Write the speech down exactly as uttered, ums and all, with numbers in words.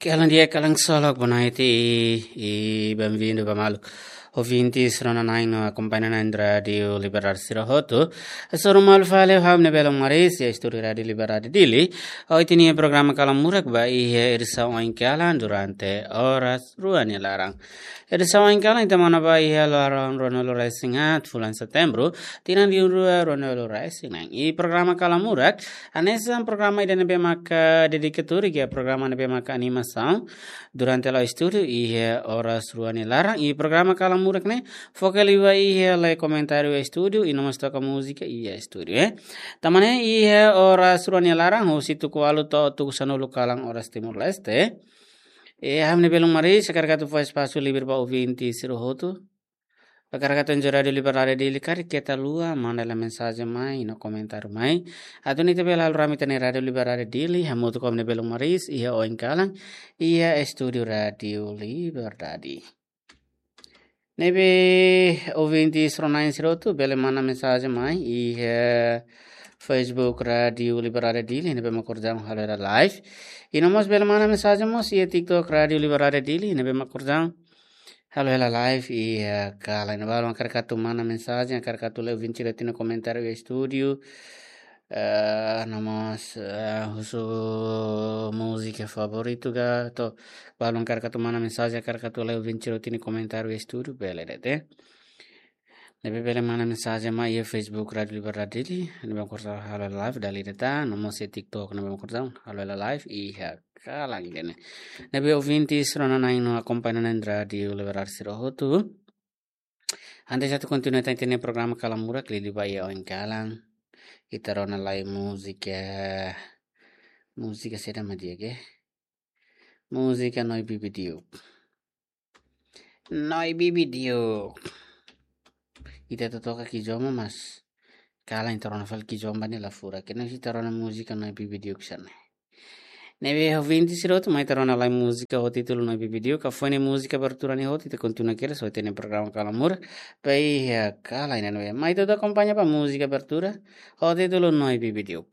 Kalan di'ak, kalan ksolok, boa noite i, i bem-vindo ba maluk ouvintes rona-na'in no akompaña na'in Rádiu Liberdade sira hotu. Hasoru malu fali ha'u-nia belun Maris iha estúdiu Rádiu Liberdade Dili. Ohin ita-nia programa Kalan Murak ba iha edisaun oin kalan durante oras rua nia laran. Edisaun oin kalan ita monu ba iha loron ruanulu-resin-haat fulan Setembru, tinan rihun rua ruanulu-resin-neen. I programa Kalan Murak hanesan programa ida ne'ebé maka dedika tuir iha programa ne'ebé maka animasaun durante la'o estúdiu iha oras rua nia laran. I programa Kalan Murak ne'e foka liu ba iha lee komentáriu estúdiu i no mós toka múzika iha estúdiu, eh. Tanba ne'e iha oras rua nia laran, husi tuku ualu to'o tuku sanulu kalan oras Timor-Leste, eh, ha'u-nia belun Maris hakarak atu fó espasu livre ba ouvinte sira hotu. Hakarak atu enjoy Rádiu Liberdade Dili, karik keta haluha manda lai mensajen mai no komentáriu mai, atu nune'e ita bele halo rame ita-nia Rádiu Liberdade Dili hamutuk ho ha'u-nia belun Maris iha oin kalan iha estúdiu Rádiu Liberdade. Ne'ebé ouvinte rona-na'in sira hotu bele manda mensajen mai iha Facebook Rádiu Liberdade Dili, ne'ebé mak orsida halo hela live. I no mós bele manda mensajen mós iha TikTok Rádiu Liberdade Dili, ne'ebé mak orsida halo hela live iha kalan ne'e. Balu hakarak atu manda mensajen, hakarak atu lee ouvinte sira-nia komentáriu iha estúdiu, eh, no mós, eh, husu múzika favoritu ka, to'o balu hakarak atu manda mensajen, hakarak atu lee ouvinte sira-nia komentáriu iha estúdiu, bele de'it, eh. Ne'ebé bele manda mensajen mai iha Facebook Rádiu Liberdade Dili, ne'ebé mak orsida halo live dala ida tan, no mós iha TikTok ne'ebé mak orsida halo hela live iha kalan ida-ne'e. Ne'ebé ouvinte rona-na'in no akompaña na'in Rádiu Liberdade sira hotu, antes atu kontinua tan ita-nia programa Kalan Murak, liuliu ba iha oin kalan, ita rona lai múzika, múzika saida mak di'ak, eh. Múzika Noi Bibi Diuk. Noi Bibi Diuk. Ita atu toka kizomba, mas kalan ita rona fali kizomba ne'e la furak. Entaun ita rona múzika Noi Bibi Diuk hanesan ne'e. Ne'ebé ouvinte sira hotu, mai ita rona lai múzika ho títulu Noi Bibi Diuk. Ka foin múzika abertura ne'e hotu, ita kontinua kedas ho ita-nia programa Kalan Murak ba iha kalan ida-ne'e. Mai ita akompaña ba múzika abertura ho títulu Noi Bibi Diuk.